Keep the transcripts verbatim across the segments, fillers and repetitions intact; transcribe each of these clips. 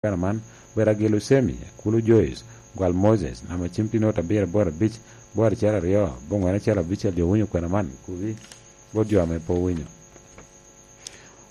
kwena man, Beragil Osemi, Akulu Joyce, Gwal Moses, namba cim tye nwoto abiro aboro abic, boro acel aryo, bongwen acel abicel. Jo winyo kwena man, kubi bot jo ame pe owinyo.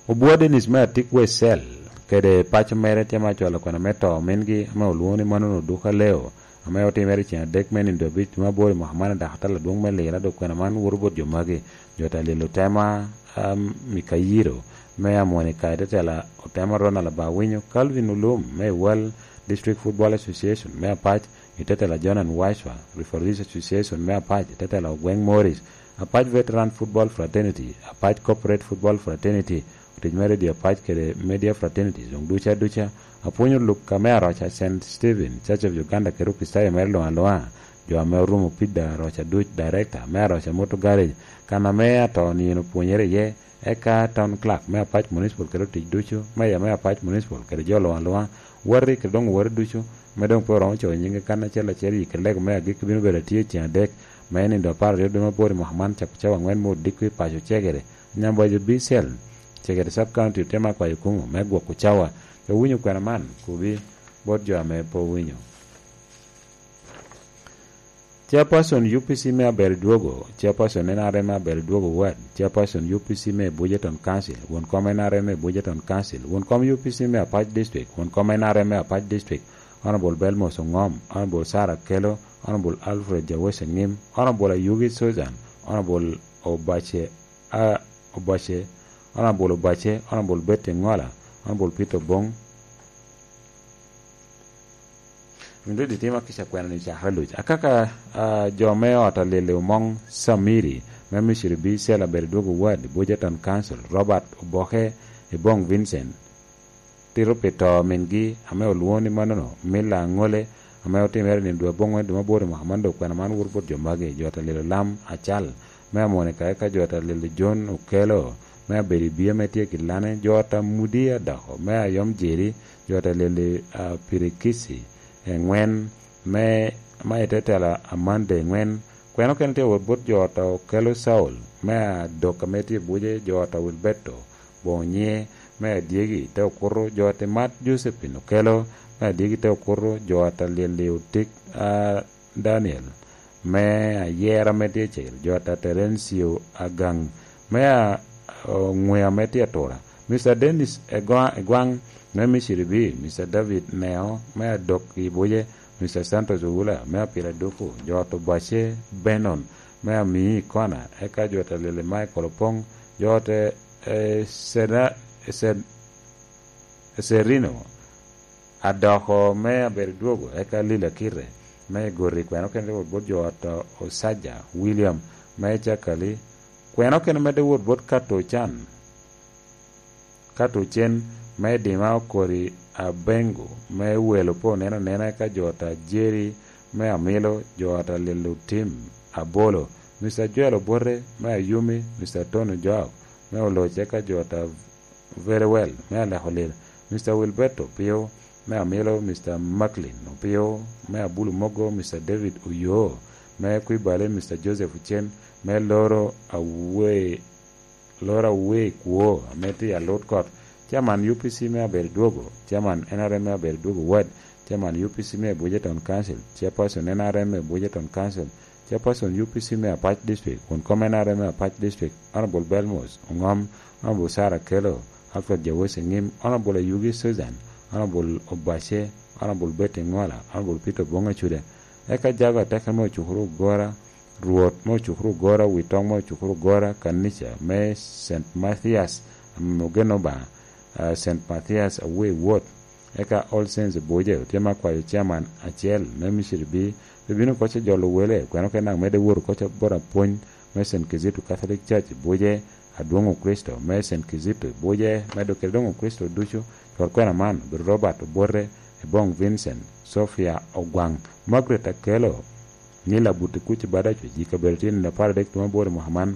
Obwo Dennis me Atik West Cell kede paco mere tye ma cwalo kwena me to omingi ame olwoŋo ni Manono Duka Leo, ame otimere i ceng adek me nindo abic dwe me aboro i mwaka man, dok atal adwoŋ me Lira. Dok kwena man woto bot jo magi: Jota Lilo Tema, am, Mikayiro me Amonika, i te tela Otema Ronald Abawinyo, Calvin Olum me Iwal District Football Association me Apac, i te tela Jonan Waiswa, Referees Association me Apac, i te tela Ogweng Morris, Apac Veteran Football Fraternity, Apac Corporate Football Fraternity, otic me Radio Apac kede Media Fraternities, doŋ duca duca, apwonyo luk ame Aroca Saint Stephen, Church of Uganda kede Okricitayo mere luŋ aluŋa, jo ame orumo Pida Aroca duc, Director me Aroca Motor Garage, kan ame ato nino pwonyere iye, eka Town Clerk me Apac Municipal kede otic ducu, Mayor me Apac Municipal kede jo luŋ aluŋa, wati kede doŋ wati ducu, me doŋ pe oromo coyo nyinge kan acel acel i kede lego me agikki bino bedo atye i ceng adek, me nindo apar aryo dwe me aboro i mwaka man, cako cawa aŋwen me odiko i paco Cegere, Nyamboja B Cell, Cegere Sub County, otema akwayo kumo me gwoko cawa. Jo winyo kwena man, kubi bot jo ame pe owinyo. Chairperson U P C me Aberodwogo, Chairperson N R M me Aberodwogo Ward, Chairperson U P C me Bujeton Council, won kom N R M me Bujeton Council, won kom U P C me Apac District, won kom N R M me Apac District, Honorable Belmos Ongom, Honorable Sarah Kelo, Honorable Alfred Jawese Ngim, Honorable Ayugi Susan, Honorable Obache, a, Obache, Honorable Obache, Honorable Betty Ngola, Honorable Peter Bong, Mindodi tima kica kwena ni cakere luc. Akaka, ah, jo me ot alili Omong Samiri, me Misiri B Cell Aberodwogo Ward, Bujeton Council, Robert Oboke, Ebong Vincent, tito pi to mingi, ame olwoŋo ni manono, Mila Aŋole, ame otimere i nino dwe aboŋwen dwe me aboro i mwaka man, dok kwena man woto bot jo magi: jo ata lelo Lam Acal, me Amonika, eka jo ata lelo John Okelo, me Abedi Bia, me tye i Gilane, jo ata Mudi Adoko, me Ayom Jeri, jo ata lelo, ah, Pirikisi, eŋwen, me, ma i te tela Amande eŋwen. Kwena okene tye wot bot jo ata Okelo Saul, me Adok ame tye i Buje, jo ata Wilberto Bonye, me Adyegi te Okuto, jo ata Mat Josephine Okelo, me Adyegi te Okuto, jo ata Lili Otik, a, Daniel, me Ayera me tye i Cegere, jo ata Terencio Agaŋ, me a, Oŋwea me tye Atura, Mister Dennis Egwa-, Egwaŋ, me Misiri B, Mister David Neo, me Adok i Buje, Mister Santos Oula, me Apira Duku, jo ata Obace Benon, me Amii Kona, eka jo ata Lili Michael Opoŋ, jo ata, eh, Seda-, Sed-, Serino Adoko, me Aberodwogo, eka Lila Kite, me Gori. Kwena okene tye wot bot jo ata Osaja William, me Cakali. Kwena okene medde wot bot Kato Can, Kato Cen, me Dima Okori Abengo, me Welo pe oneno anena, eka jo ata Jeri, me Amilo, jo ata Lilo Tim Abolo, Mister Joel Obote, me Ayumi, Mister Tony Joab, me Oloc, eka jo ata Very Well, me Aleko Lil, Mister Wilberto Opio, me Amilo, Mister Macklin Opio, me Abulu Mogo, Mister David Oyoo, me Kwibale, Mister Joseph Ocen, me Loro Awe-, Loro Awe Kwo, ame tye i Alut Kot, Chairman U P C me Aberodwogo, Chairman N R M me Aberodwogo Ward, Chairman U P C me Bujeton Council, Chairperson N R M me Bujeton Council, Chairperson U P C me Apac District, kun kom N R M me Apac District, Honorable Belmos Ongom, Honorable Sarah Kelo, Alfred Jawesi Ngim, Honorable Ayugi Susan, Honorable Obace, Honorable Betty Ngola, Honorable Peter Bongo Acuda, eka jago ateka me Ocukuru Ogora, Rwot me Ocukuru Ogora, Witong me Ocukuru Ogora, Kanica me Saint Mathias, ame ogeno Obaŋa, ah, Saint Mathias Away Ward, eka All Saints Buje, otye ma kwayo chairman acel me Misiri B, pe bino koc jolo wele, kwena okene daŋ medde wot koc bot apwony me Saint Kizito Catholic Church Buje, Adwoŋ Okricito me Saint Kizito Buje, medo kede doŋ Okricito ducu, cwar kwena man, obedo Robert Obote, Ebong Vincent, Sophia Ogwaŋ, Margaret Akelo, Nila Buti Kuc Badaco, ji kabedo tye nino apar adek dwe me aboro i mwaka man.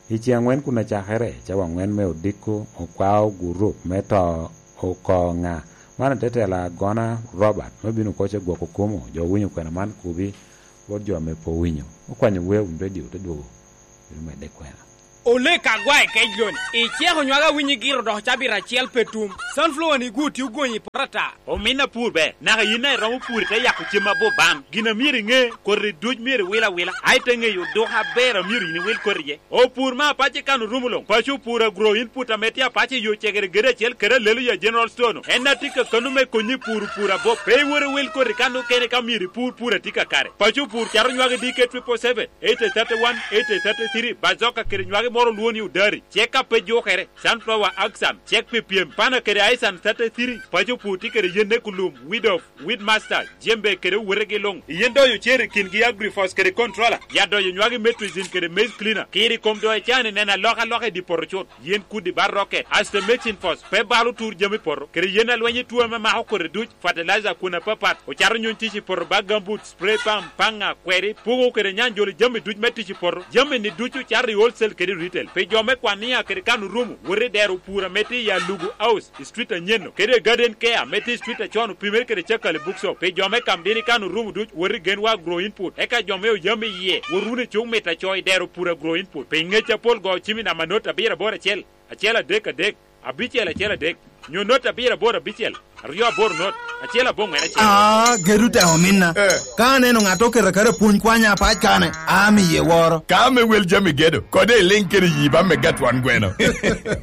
I ceng aŋwen kun acakere, cawa aŋwen me odiko, okwao gurup me to oko ŋa. Man atetela agona Robert, me bino koc gwoko kumo, jo winyo kwena man kubi, bot jo ame pe owinyo. Okwanyo wer wun redio, te dwogo, bino medde kwena. Olek agwa i kec loni, iceko nywag awinyo igiro dok cabit acel pe tum. Sunflower ni gwo tye ogonyo i poto ata. Omin apur ber, naka yin a iromo pur ite yako cem aboban. Gin a myero iŋe, koti duc myero iwil awila, a ite ŋeyo oduka aber a myero yin iwil koti iye. Opur me apac i kan orumo luŋ, paco opur agro input ame tye apac i yo cegere gede acel kede alelo ya General Store-nu. En a tye ka kano me konyi pur pur abop. Pe iwor iwil koti kan okene ka myero ipur pur a tye kakare. Paco opur cato nywagi D K triple seven, eight thirty-one, eight thirty-three, bazoka kede nywagi moro olwo ni odari. Cek a pe jukere, sunflower action, cek pi pyem, pana kede aisan thirty-three, paco pur tye kede yen ne kulum, weed off, weed master, jembe kede owetegi luŋ. Yen doyo cer i kingi agrifos kede controller, ya doyo nywagi metrizin kede maize cleaner, kiri kom doyo cani neno alokaloka i di poto cut. Yen kudi ba rocket, asto mixing force, pe balo tur jami poto, kede yen alweny i tuo ame mako kodi duc, fertilizer kun apapat, ocato nyuny tic i poto ba gambut, spray pump, paŋa, kweri, pugo kede nyanjolo jami duc me tic i poto, jami ni ducu cato i wholesale kede retail. Pi jo me kwania kede kan orumo, wot i dero pur ame tye i Alugu House, i street anyen-nu, kede i Garden Care ame tye i street acon opimere kede Cakali Bookshop. Pi jo me Kamdini kan orumo duc, wot i Genwa Agro Input. Eka jo me Oyam iye, wot wunu i Cuk Mit Aco i dero pur Agro Input. Pi ngec apol go cim i namba not abiro aboro acel, acel adek adek, abicel acel adek, nyo not abiro aboro abicel, aryo aboro not, acel aboŋwen acel. Ah, gedo te ominna. Eh. Ka aneno ŋat oketo akata pwony kwanya apac kane, amiye woro. Ka ame wel jami gedo, kode iliŋ kede yi ba me gatwan gweno.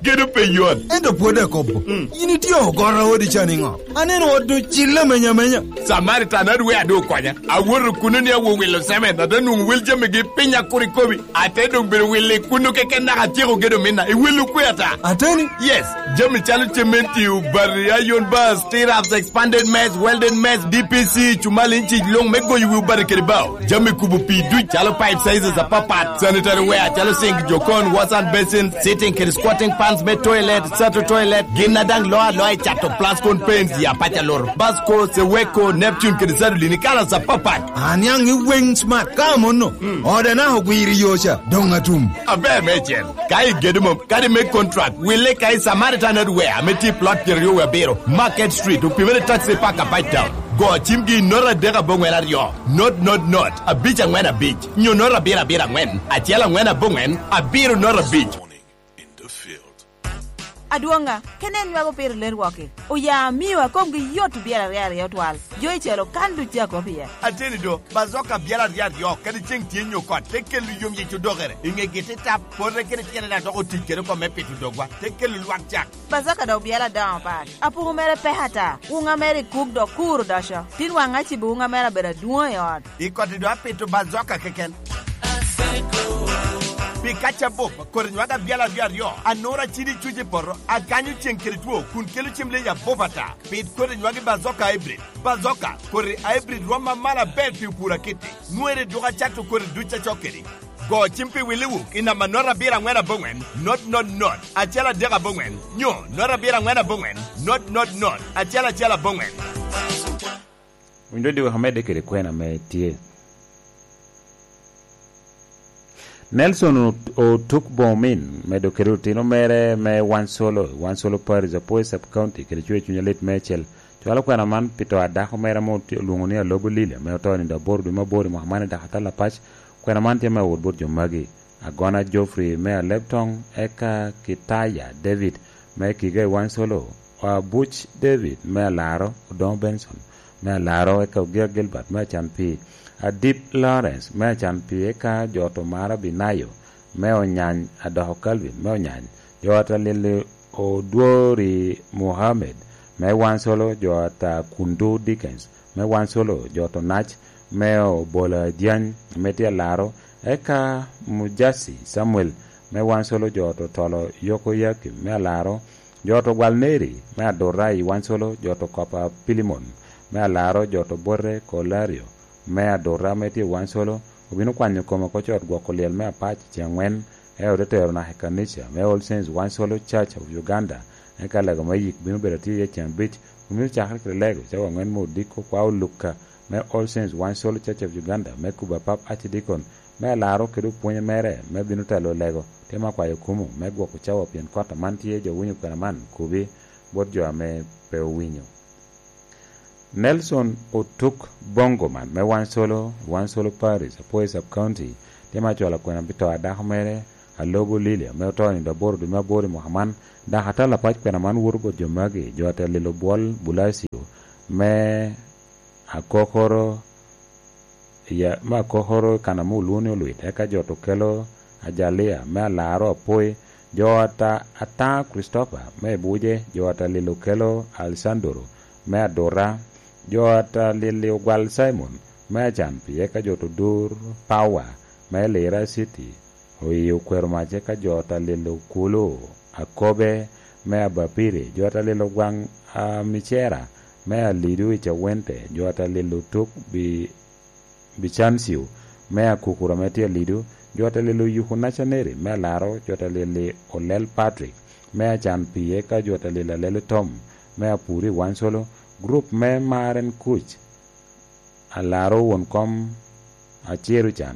Gedo pe yot. Ento pwod akobo. Mm. Yin itye ogoro odi ca niŋo? Aneno ot ocille amenya amenya. Samaritan adwe adu okonya. Awoto kuno ni awo wilo semen, ate nwoŋo wel jamigi piny akur ikobi. Ate doŋ bedo wilo i kuno keken naka atyeko gedo minna. I wilo kwe ata? Ateni? Yes. Jami calo cementi, obati, iron bars, tirabs, expanded mess, welded mess, D P C, cumal inci luŋ me goyo wi obati kede bao. Jami kubo pii duc calo pipe sizes apapat, sanitary ware calo sink, jokon, wash and basin, sitting kede squatting pans me toilet, sato toilet, gin a daŋ loo aloa i cato plascon paints, ya paca loro, Basco, Seweko, Neptune kede Sadolin i kalas apapat. Aniaŋ i weŋ smart ka amonno, ode naka ogwiro i yo ca, doŋ atum. Aber meicel, ka igedo mom, kadi me contract, wille ka i Samaritan Hardware ame tye i plot pyeraryo wie abiro, Market Street, opimere taxi park apac town. Go cimgi i not adek aboŋwen aryo, not not not, abic aŋwen abic, nyo not abiro abiro aŋwen, acel aŋwen aboŋwen, abiro not abic. Adwoŋa, kene en nywako piro lerwoki. Oya amio a komgi yot obyelo aryo aryo twal. Jo i celo kan duc a kop iye. Ateni do, bazoka abyelo aryo aryo, kadi ceŋ tye nyo kot, te kelo yom yic odokere. I ŋegi te tap, pote kede tyene daŋ dok otic kede oko me pito dogwa, te kelo lwak cak. Bazoka dok obyelo adoŋo pat. Apuku mere pek ata. Wuŋa mere i kuk dok kur odoco. Tin waŋ acibo wuŋa mere abedo adwoŋ i ot. I koti do apito bazoka keken. Pi kaca bup, kodi nywag abyalo aryo aryo, anura cidi cuc i poto, aganyo ceŋ kede two, kun kelo cem leyi abup ata. Pit kodi nywagi bazoka hybrid. Bazoka, kodi hybrid rwom amalo aber pi opur akitti. Nwere duk acato kodi duc acok kedi. Go cim pi Willi Wuk i namba not abiro aŋwen aboŋwen, not not not, acel adek aboŋwen, nyo not abiro aŋwen aboŋwen, not not not, acel acel aboŋwen. Winy dodiwek amedde kede kwena ame tye. Nelson Ot-, Otuk Bomin medo kede otino mere me Wansolo, Wansolo Parish, Apoy Sub County, kede cwer cuny alit meicel. Cwalo kwena man pi to a dako mere ame oti-, olwoŋo ni Alobo Lili, ame oto nindo aboro dwe me aboro i mwaka man i Dakatala Pac. Kwena man tye me awot bot jo magi: Agona Geoffrey me Alebtong, eka Kitaya David me Kiga i Wansolo, Abuc David me Alaro, Odoŋo Benson me Alaro, eka Ogia Gilbert me Acanpii, Adip Lawrence me Acanpii, eka jo to Mara Binayo me Onyany, Adoko Calvin me Onyany, jo ata Lili Odwori Mohammed me Wansolo, jo ata Kundu Dickens me Wansolo, jo to Nac me Obola Jany me tye Alaro, eka Mujasi Samuel me Wansolo, jo to Tolo Yoko Yakim me Alaro, jo to Gwal Neri me Adurra i Wansolo, jo to Kopa Pilimon me Alaro, jo to Bote Kolario me Adurra ame tye i Wansolo, obino kwanyo kome oko cot gwoko lyel me Apac ceŋ aŋwen, eo te tero naka i kanica me All Saints Wansolo Church of Uganda, eka lego me yik bino bedo atye iye ceŋ abic. Omito cakere kede lego cawa aŋwen me odiko kwa Olukka me All Saints Wansolo Church of Uganda me kubo apap Archdeacon me Alaro kede opwonye mere me bino telo lego. Tye ma akwayo kumo me gwoko cawa pien kot aman tye jo winyo kwena man kubi bot jo ame pe owinyo. Nelson Otuk Bongoman me Wansolo, Wansolo Parish, Apoy Sub County, tye ma acwalo kwena pi to a dako mere, Alobo Lili, ame oto i nino aboro dwe me aboro i mwaka man, dok atalo apac kwena man woto bot jo magi, jo ate lilo bwol Bulacio, me akokoro, ya, me akokoro i kan ame olwoŋo ni Olwit, eka jo te kelo Ajalia, me alaro apoi, jo ata, ata Kricitopa, me Ibuje, jo ate lilo kelo Alesandoro, me Adura, jo ate lili ogwal Cimon, me Acan, pii eka jo te dur Pawa, me Lira Citi, oye okwero mac eka jo ate lilo kulu Akobe, me Abapiri, jo ate lilo gwaŋ Amicera, me Alidu i Cawente, jo ate lilo tuk Bi-, Bicancio, me Akukura me tye Alidu, jo ate lilo Yuku Nacaneri, me Alaro, jo ate lili Olel Patrick, me Acan pii eka jo ate lilo Alelo Tom, me Apuri Wancolo, gurup me Maren Kuc, Alaro won kom Aciro Can,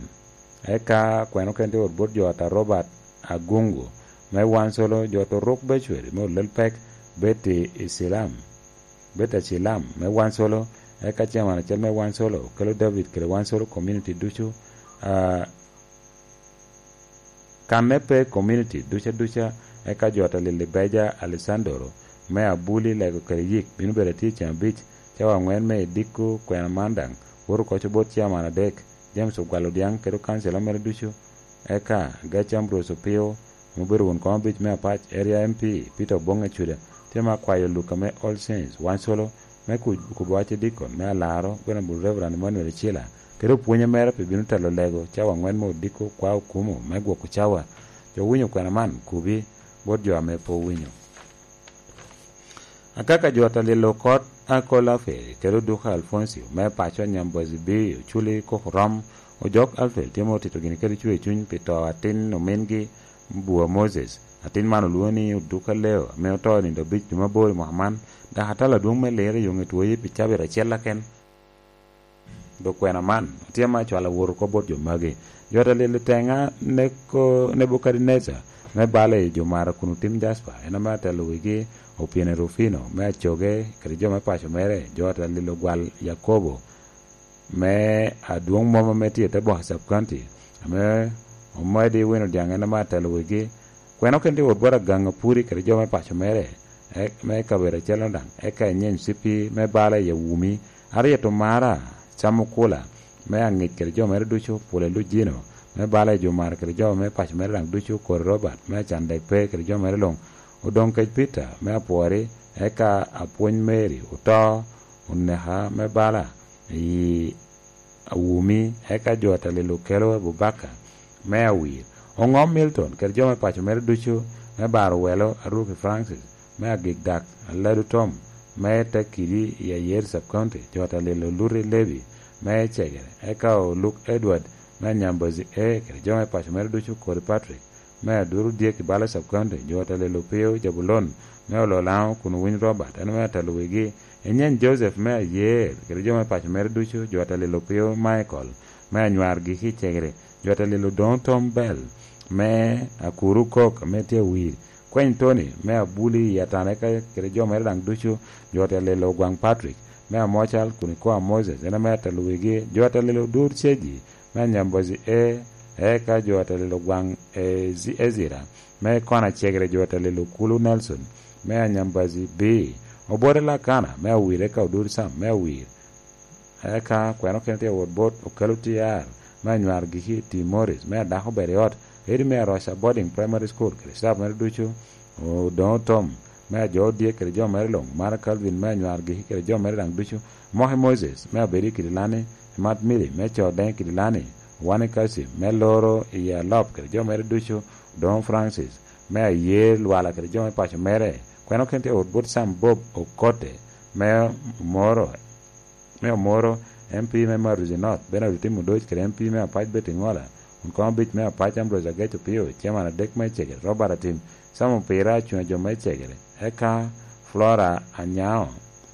eka kweno kene tye wot bot jo ata Robert Agungu, me Wancolo, jo ata Oruk Becwel, me Olel Pek, Betty Isilam, Betty Acilam, me Wancolo, eka chairman acel me Wancolo, kelo David kede Wancolo community ducu, ah, Kanne pe community duca duca, eka jo ata lili Beja Alessandro, me Abuli Lego kede Yik, bino bedo atye i ceng abic, cawa angwen me idiko kwena man daŋ, woto oko bot chairman adek, James Ogwal Odiaŋ kede okancila mere ducu, eka Gac Ambrose Opio, ame obedo won kom abic me Apac Area M P, Peter Oboŋ Ecuda, tye ma akwayo Luka me All Saints, Wancolo, me ku-, kubo wacce dikon me Alaro, Venerable Reverend Emmanuel Ecila, kede opwonye mere pe bino telo lego cawa angwen me odiko kwa okumo me gwoko cawa. Jo owinyo kwena man, kubi bot jo ame pe owinyo. Akaka jo ata lilo kot Akol Alfred kede Oduka Alfoncio me paco Nyambozi B, Oculi Koko Rom, Ojok Alfred tye ma otito gini kede cwer cuny pi to atin omingi Bua Moses. Atin man olwoŋo ni Oduka Leo, ame oto i nino abic dwe me aboro i mwaka man, dok atalo adwoŋ me Lira i Yoŋe Twoyi pi cabit acel aken. Dok kwena man otye ma acwalo awot oko bot jo magi. Jo ata lilo teŋa Neko-, Nebukadnecar, me balo i jo mara kun otim Jasper, en ame atelo wigi Opyeni Rufino, me Acoge, kede jo me paco mere, jo ata lilo gwal Yakobo, me adwoŋ mom ame tye i te boka Sub County, ame omedi wino dyaŋ en ame atelo wigi. Kwena kene tye wot bot Agaŋ Apuri kede jo me paco mere, e-, me kabedo acel-lo daŋ, eka inyeny C P me bala i Awumi, Harriet Omara, Sam Okula, me Aŋic kede jo mere ducu, Pule Lujino, me bala i jo mara kede jo me paco mere daŋ ducu, Kori Robert, me Acandek Pe kede jo mere luŋ, Odoŋ Kec Peter, me Apwori, eka Apwony Mary, oto, oneka me bala i Awumi, eka jo ata lilo kelo Abubakar, me Awir, Oŋom Milton, kede jo me paco mere ducu, me Baro Welo, Aruki Francis, me Agik Dak, Aladu Tom, me Tekidi i Ayer Sub County, jo ata lilo Luti Levi, me Cegere, eka Oluk Edward, me Anyambazi A, kede jo me paco mere ducu, Kori Patrick, me Aduru Dyek i Bala Sub County, jo ata lilo Opio Jabulon, me Ololaŋo kun owiny Robert, en ame atelo wigi, Inyeny Joseph me Ayer, kede jo me paco mere ducu, jo ata lilo Opio Michael, me Anywar Giki i Cegere, jo ata lilo Odoŋo Tom Bell, me Akuru Kok, ame tye Awir, Kweny Tony, me Abuli i Atane ka-, kede jo mere daŋ ducu, jo ata lilo Ogwaŋ Patrick, me Amocal kun ikoa Moses, en ame atelo wigi, jo ata lilo Odur Ceji, me Anyambazi A, eka jo ata lilo Ogwaŋ Ezi-, Ezira, me Kona Cegere, jo ata lilo Kulu Nelson, me Anyambazi B, Obote Lakana, me Awir, eka Odur Sam, me Awir, eka kweno kene tye wot bot Okelo T R, me Anywar Giki Timoris, me Adako Bedo i Ot, Edi me Aroca Boarding Primary School, kede staff mere ducu, Odoŋo Tom, me Ajo Odyek kede jo mere luŋ, Mara Calvin, me Anywar Giki kede jo mere daŋ ducu, Moki Moses, me Abedi Kidilani, Mat Mili, me Co Deŋ Kidilani, Wani Kasim, me Loro i Alop kede jo mere ducu, Odoŋo Francis, me Ayer Lwala kede jo me paco mere, kweno kene tye wot bot Sam Bob Okote, me Moro, me Omoro, M P me Maruzi North, Bernard Otim Odoc kede M P me Apac Betty Ŋola, kun koŋ abic me Apac Ambrose Agec Opio, Chairman adek me Cegere, Robert Atim, Sam Opira, Acuŋ a jo me Cegere, eka Flora Anyao,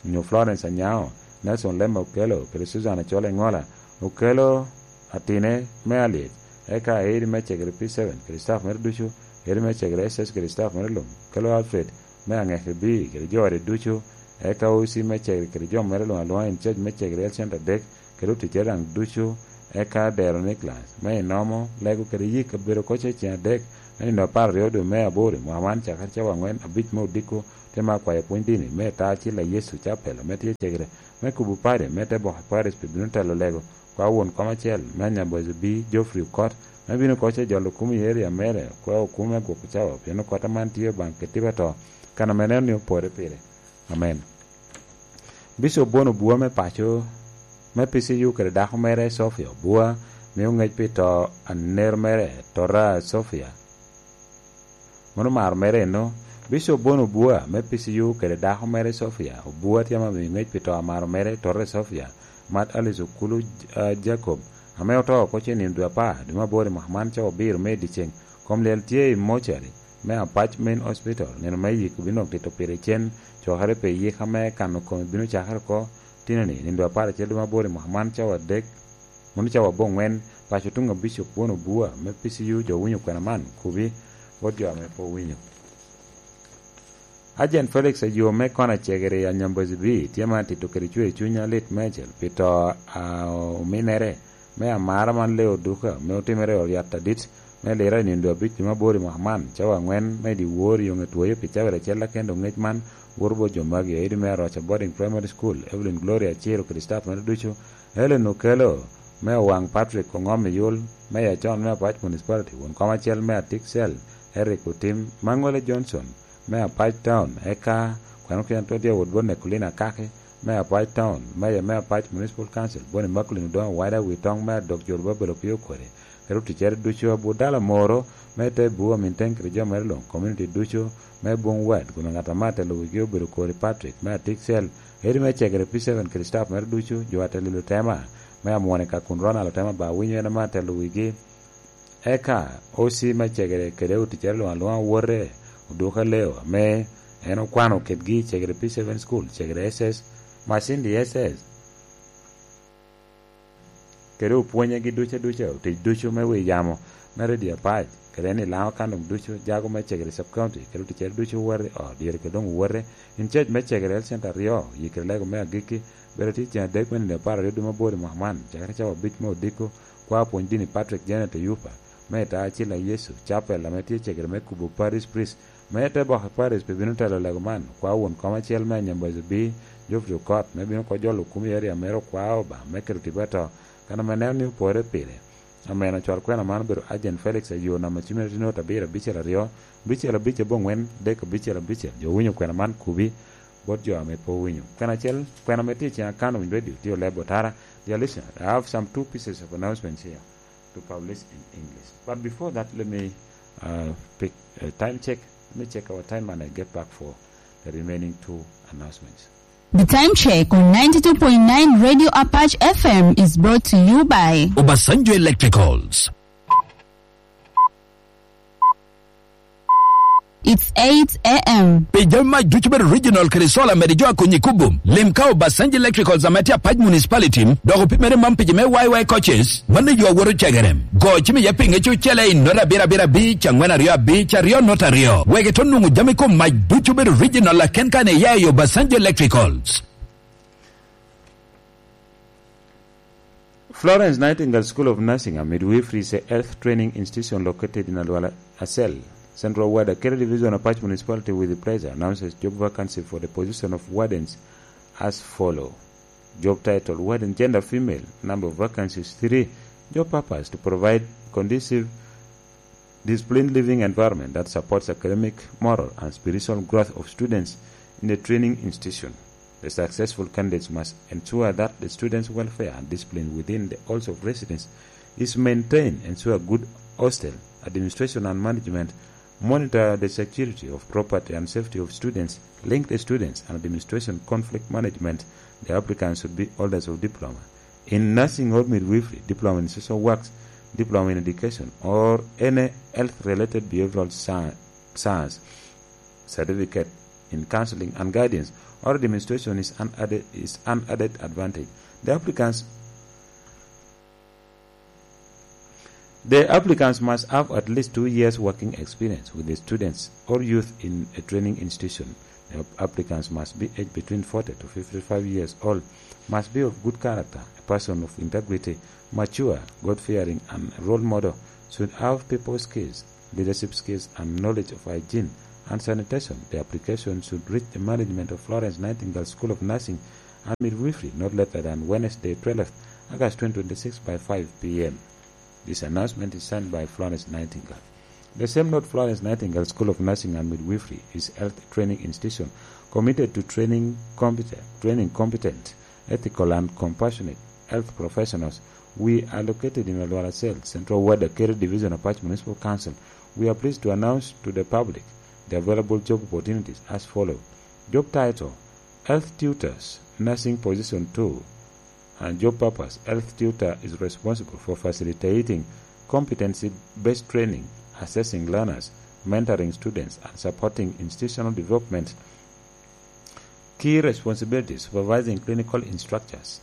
nyo Florence Anyao, Nelson Lema Okelo, kede Susan Acol Eŋola, Okelo Atine me Alyec, eka Edi me Cegere P seven, kede staff mere ducu, Edi me Cegere S S kede staff mere luŋ, Okelo Alfred, me Aŋeke B, kede jo ode ducu, eka O C me Cegere kede jo mere luŋ alwoŋa in charge me Cegere Health Center adek, kede oticere daŋ ducu, eka Dero Nicholas, me Inomo, Lego kede Yik kabedo oko ce ceŋ adek, me nino apar aryo dwe me aboro i mwaka man, cakere cawa angwen abic me odiko, tye ma akwayo pwony dini me ta acil a Yecu Capel ame tye cegere me kubo padi me te boko i Paris pi bino telo lego kwa won kom acel me Anyambozo B, Geoffrey Okot, me bino oko ce jolo kum i area mere kwa okum me gwoko cawa, pien Okot aman tye Obaŋa kede tipo ato, kan ame neno ni opore pire. Amen. Bicop Bon Obua me paco me P C U kede dako mere Sophia Obua mio ŋec pi to aner mere Tora Sophia. Mano maro mere eno, Bicop Bon Obua me P C U kede dako mere Sophia Obua tye ma mio ŋec pi to amaro mere Tora Sophia, mat Alice Okulu, ah, Jacob, ame oto oko ce nino dwe apar dwe me aboro i mwaka man cawa abiro me i dyeceŋ. Kom lyel tye i mocari me Apac Main Hospital, nino me yik obino dok tito pire cen, cokere pi yik ame kano kome bino cakere oko tinoni, nino dwe apar acel dwe me aboro i mwaka man cawa adek, mano cawa aboŋwen, paco tuŋ a Bicop Bon Obua me P C U jo winyo kwena man, kubi bot jo ame pe owinyo. Ajen Felix Ayom me Kona Cegere i Anyambozi B tye ma tito kede cwer cuny alit meicel pi to a ominere me amara man Leo Duka me otimere i Oriat Adit me Lira i nino dwe abic dwe me aboro i mwaka man, cawa angwen me dyewor i Oŋetwoyo pi cawa acel akendo. Ŋec man woto bot jo magi, Eddie me Aroca Boarding Primary School, Evelyn Gloria Aciro kede staff mere ducu, Helen Okello me Owaŋ, Patrick Oŋom Iyul me Yacon me Apac Municipality, won kom acel me Atik Cell, Eric Otim, Maŋole Johnson me Apac Town, eka kweno kene to tye awot bot Nekolina Akaki me Apac Town, Mayor me Apac Municipal Council, Boni Immaculate Odongo Wada, Witoŋ me Adok Jorobabel Opiyo Okori, kede oticcere ducu, Abudala Moro me te Bua Minteng kede jo mere luŋ, community ducu me Bung Wad, kun ŋat ame atelo wigi obedo Kori Patrick me Atik Cell, Eddie me Cegere P seven kede staff mere ducu, jo atelo i Lutema me Amwone ka kun Ronald Otema ba winyo en ame atelo wigi. Eka O C me Cegere kede oticcere luŋ aluŋa owote, Oduka Leo, ame en okwano kedgi i Cegere P seven School, Cegere S S, Masindi S S, kede opwonyegi duca duca, otic ducu me wi yamo me Radio Apac, kede en i Laŋo Kandong ducu, jago me Cegere Sub County, kede oticcere ducu owote i ot, dyere kede doŋ owote, in charge me Cegere Health Center aryo, yikere lego me agikki, bedo tye ceŋ adek me nino apar aryo dwe me aboro i mwaka man, cakere cawa abic me odiko, kwa pwony dini Patrick Janet Oyupa, me Ita Acil a Yecu Chapel, ame tye cegere me kubo Parish Priest, me te boko i Parish pi bino telo lego man, kwa won kom acel me Anyambazo B, Geoffrey Okot, me bino oko jolo kum i area mere okwa Obaŋa me kelo tipo ato, kan ame neno ni opore pire. Amen. Ocwal kwena man obedo Agent Felix Ayo, namba cim en tye nota abiro abicel aryo, abicel abic aboŋwen, dek abicel abicel. Jo winyo kwena man kubi bot jo ame pe owinyo. Kwena acel, kwena ame tye i cen akano winyo radio, tye oleb otara. Dear listener, I have some two pieces of announcements here to publish in English. But before that, let me, uh, pick a time check. Let me check our time and I get back for the remaining two announcements. The time check on ninety-two point nine Radio Apache F M is brought to you by Obasanjo Electricals. It's eight a m. Pi jami mac ducu bedo original kede solar mede jo akonyi kubo. Lim ka Obasanjo Electricals ame tye Apac Municipality, dok opimere man pi jo me Y Y coaches, mano yo awoto cegerem. Go cim iye pinge cucele i nota abiro abiro abic, angwen aryo abic, aryo nota aryo. Wek ito nwoŋo jami kom mac ducu bedo original aken kan iya i Obasanjo Electricals. Florence Nightingale School of Nursing and Midwifery is a health training institution located in Alwala Acel, Central Ward, Akere Division, Apac Municipality, with pleasure announces job vacancy for the position of wardens as follow. Job title: Warden, gender female, number of vacancies three. Job purpose: to provide conducive disciplined living environment that supports academic, moral, and spiritual growth of students in the training institution. The successful candidates must ensure that the students' welfare and discipline within the halls of residence is maintained, ensure good hostel administration and management, monitor the security of property and safety of students, link the students and administration conflict management. The applicants should be holders of diploma in nursing or midwifery, diploma in social works, diploma in education, or any health-related behavioral sci-, science certificate in counseling and guidance, or demonstration is an added, is an added advantage. The applicants, the applicants must have at least two years working experience with the students or youth in a training institution. The applicants must be aged between forty to fifty-five years old, must be of good character, a person of integrity, mature, God-fearing, and role model, should have people skills leadership skills, and knowledge of hygiene and sanitation. The application should reach the management of Florence Nightingale School of Nursing and Midwifery not later than Wednesday, twelfth August twenty twenty-six, by five p m. This announcement is signed by Florence Nightingale. The same note, Florence Nightingale School of Nursing and Midwifery is health training institution committed to training competent, training competent, ethical and compassionate health professionals. We are located in Olwara Cell, Central Ward, Akeri Division, Apac Municipal Council. We are pleased to announce to the public the available job opportunities as follow. Job title: Health Tutors, Nursing Position two, and job purpose: Health tutor is responsible for facilitating competency-based training, assessing learners, mentoring students, and supporting institutional development. Key responsibilities: supervising clinical instructors,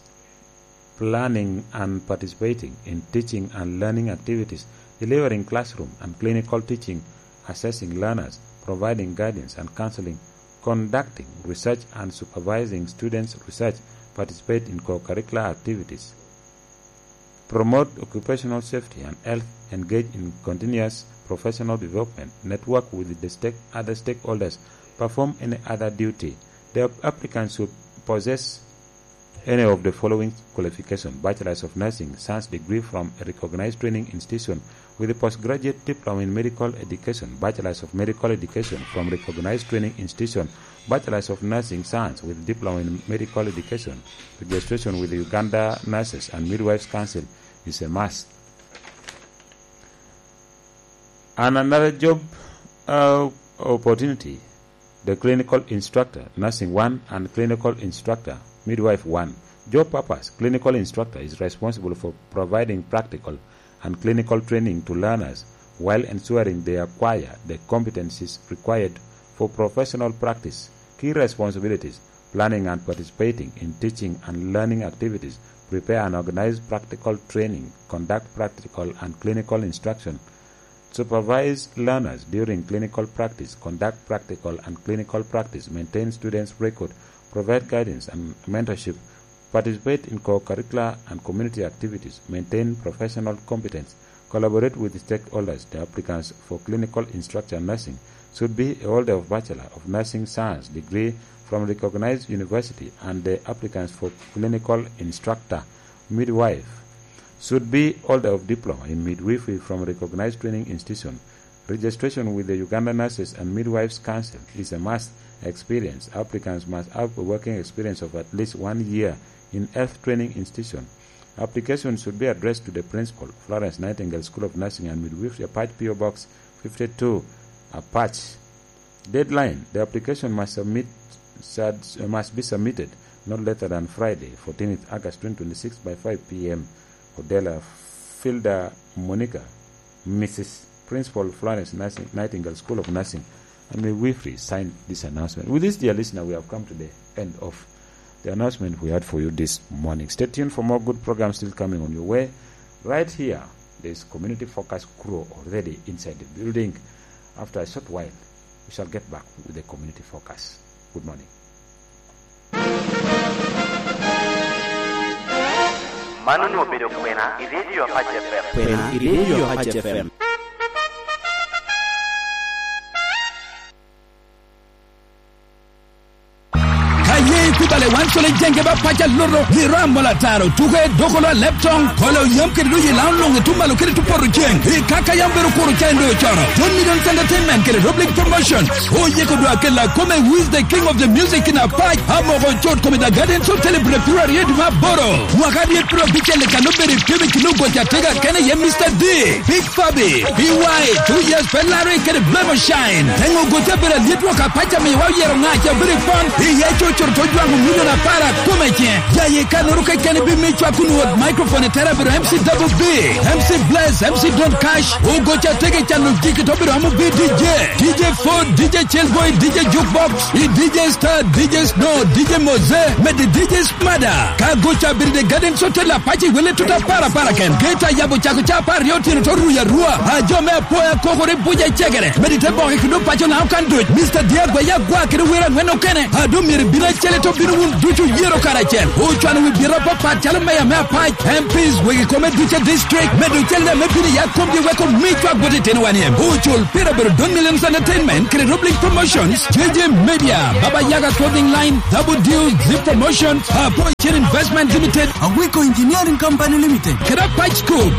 planning and participating in teaching and learning activities, delivering classroom and clinical teaching, assessing learners, providing guidance and counseling, conducting research and supervising students' research, participate in co-curricular activities, promote occupational safety and health, engage in continuous professional development, network with the stake-, other stakeholders, perform any other duty. The applicants should possess any of the following qualification: Bachelors of Nursing Science degree from a recognized training institution with a postgraduate diploma in medical education, Bachelors of Medical Education from recognized training institution, Bachelors of Nursing Science with diploma in medical education. Registration with the Uganda Nurses and Midwives Council is a must. And another job, uh, opportunity, the clinical instructor, nursing one, and clinical instructor, midwife one. Job purpose: clinical instructor is responsible for providing practical and clinical training to learners while ensuring they acquire the competencies required for professional practice. Key responsibilities: planning and participating in teaching and learning activities, prepare and organize practical training, conduct practical and clinical instruction, supervise learners during clinical practice, conduct practical and clinical practice, maintain students' record, provide guidance and mentorship, participate in co-curricular and community activities, maintain professional competence, collaborate with stakeholders. The applicants for clinical instruction nursing should be a holder of Bachelor of Nursing Science degree from recognized university, and the applicants for clinical instructor midwife should be holder of diploma in midwifery from recognized training institution. Registration with the Uganda Nurses and Midwives Council is a must. Experience: applicants must have a working experience of at least one year in health training institution. Application should be addressed to the principal, Florence Nightingale School of Nursing and Midwifery, Apac P O Box fifty-two, Apac. Deadline: the application must submit, sad-, must be submitted not later than Friday, fourteenth August twenty twenty-six, by five p m. Odela Filda Monica, Missus Principal, Florence Nursing, Nightingale School of Nursing, and midwifery, signed this announcement. With this, dear listener, we have come to the end of the announcement we had for you this morning. Stay tuned for more good programs still coming on your way. Right here, there is community focus crew already inside the building. After a short while, we shall get back with the community focus. Good morning. Mano onwoŋo obedo kwena i Radio Apac F M. Kwena i Radio Apac F M. Ka ye ikubale wan colo i jenge ba pac aloto, i ram mola taro, tuke, dokolo, alep toŋ, kolo yam kede doŋ i laŋo luŋ i tum malo kede tum poto ceŋ. I kaka yam bedo kuro ca en doŋ ocono. John Million Entertainment kede Rob League Promotion oyiko dwa kela kome Who is the King of the Music in Apac, amoko cot kome The Gardens Hotel i April aryo dwe me aboro. Mwaka aryet piero abicel i kano bedo i pyem i kin ogoco atega kene iye Mister D, Big Fabi, B Y, Two Years Ferrari kede Blemo Shine. Teŋo ogoco abedo alyet wok apac amiyowa oyero ŋac abedo i pon, iye co coro to jwaŋo milion apar akome ice. Jaye kanoro keken ibimiyo cwak kun wot microphone i tere abedo M C Double B, M C Bless, M C Don Cash, ogoco atega i cano jiki to bedo amo B D J, D J Ford, D J Chillboy, D J Jukebox, i D J Star, D J Snow, D J Moze, mede D J Mada. Ka goca bedo i The Gardens Hotel Apac i wele tuta para para ken. Gate ayabo cako ca apar aryo otyeno to ruyo arua. A jo me apoya kokore buca i cegere. Mede te boke kede opaco na okan duc. Mister Diagwa ya gwa kede wer angwen okene. A do myero ibin acel to bino wun duc. Oyero karacel, ocwano wi byeta apapat calo meya me Apac, M Ps, wegi kome ducu a district, medo cente ame bino i yat komgi wek omi cwak bot itinowa ni M P. Ocul pire obedo Don Millions Entertainment kede Roblink Promotions, J J Media, Baba Yaga Clothing Line, Double Deal, Zip Promotions, Apo Chin Investment Limited, Awiko Engineering Company Limited, kede Apac Scoop.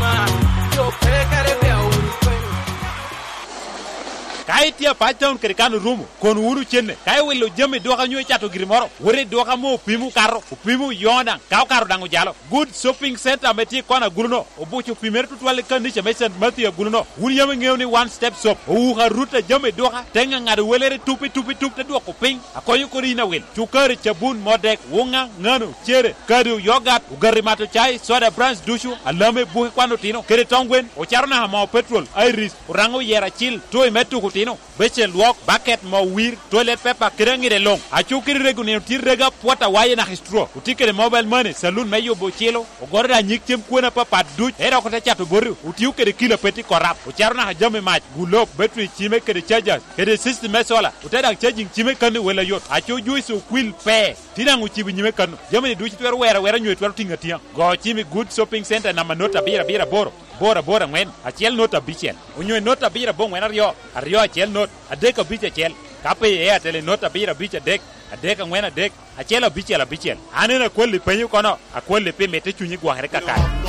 Ka itye Apac Town kede kan orumo, kono wunu cenne. Ka iwilo jami dwoka nyo icato giri moro, wot i dwoka ame opimo okato, opimo oyoŋo daŋ, ka okato daŋ ojalo. Good Shopping Center ame tye i kona agulu-no, obuco opimere tutwal i kanica me Saint Matthew agulu-no. Wun yam iŋeo ni One Step Shop owuko arut a jami dwoka, te ŋaŋado welere tup i tup i tup, te dwoko piny, akonyo kodi yin awil. Cukari, cabun, modek, wuŋa, ŋano, cere, kado, yogat, ogati mato cai, soda, brands ducu, alame, buke kwan otino, kede toŋ gwen, ocato naka moo petrol, iris, oraŋo oyero acil, toy me tuko otino, becen lwok, baket, moo wir, toilet paper, kede aŋide luŋ. Aco kede rego nino tye rego apwot awaye naka i straw. Otye kede mobile money, saloon me yubo ocilo, ogoro daŋ nyig cem kwena apapat duc, ento dok ote cato boti, otio kede kilo a pe tye korap, ocato naka jami mac, gulop, battery, cime kede chargers, kede system me solar, ote daŋ charging cime kan i wel ayot. Aco Joyce Okwil pe. Tye daŋ ocibo i nyime kano. Jami-ni ducu itwero wero awera nyo itwero tiŋo atiŋa. Go cim i Good Shopping Center namba not abiro abiro aboro, boro aboro aŋwen, acel not abicel, onyo i not abiro aboŋwen aryo, aryo acel not, adek abic acel. Ka pe i Airtel i not abiro abic adek, adek aŋwen adek, acel abicel abicel. An en akwalli penyo kono, akwalli pi mitte cunyi gwokere kakare.